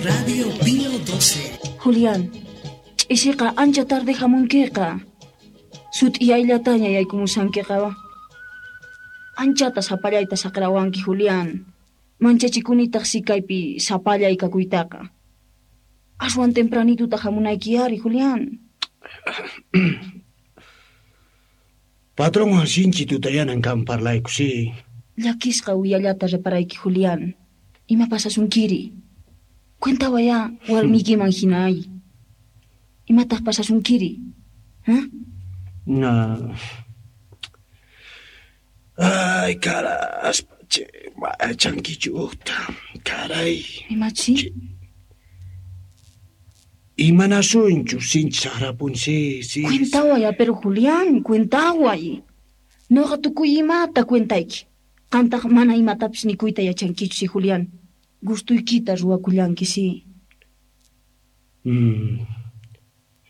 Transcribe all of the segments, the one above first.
Radio Pío 12. Julián, ch'isiqa ancha tarde hamunkiqa. Sut'iyayllataña yaykumusankiqa. Anchata sapallayta saqrawanki, Julián. Manchachikunitaq si kaypi sapallay kakuytaqa. Aswan tempranituta hamunayki ari, Julián. Patronwan sinchi tutayanan kan parlayku, si. Llakisqa uyallata reparayki, Julián. Ima pasasunkiri? Cuentawayá warmiykiman hina ay. Imataq pasasunkiri? ¿Ah? Na. Ay, caraspa, che, machankichuta. Caray. Imachi? Imanasunchu sinchi saqrapun, si, si. Cuentaway, pero Julián, cuentaway. Noqa tukuy imata cuentayki. Qantaq mana imatapis nikuyta yachankichu, si, Julián. Gustuykita ruwakullanki, si.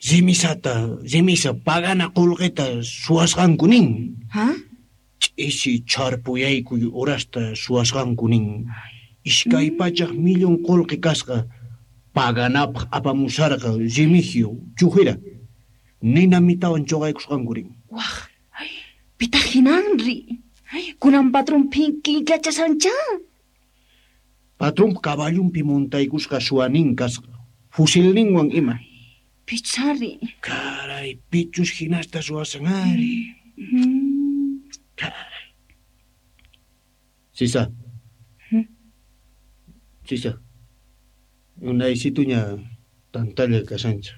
Rimisata, rimisa pagana qullqita suwasqanku nin. Ha? Ch'isi chharpuyaykuy horasta suwasqanku nin. 200 millón qullqi kasqa paganapaq apamusarqa Remigio Chujira. Nina mitawan chuqaykusqanku rin. Waj, ay, pitaq hinanri. Ay, kunan patrón phinkillachasancha. Patrón caballunpi montaykusqa suwanin kasqa. Fusilninwan ima. Pichari. Caray, pichus hinasta suwasan ari. Caray. Sisa. Sisa. Unaysituña tantalla kasancha.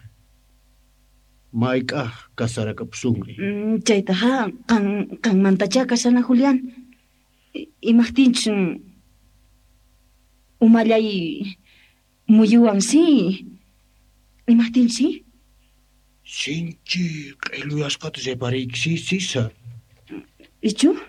Mayk'aq kasarakapusunri. Chaytaqa qanmantachá kasana, Julián. Imaqtinchus umallay muyuwan, si. Imaqtinchus, si? Sinchi q'illuyasqata reparayki, si, Sisa. Ichu?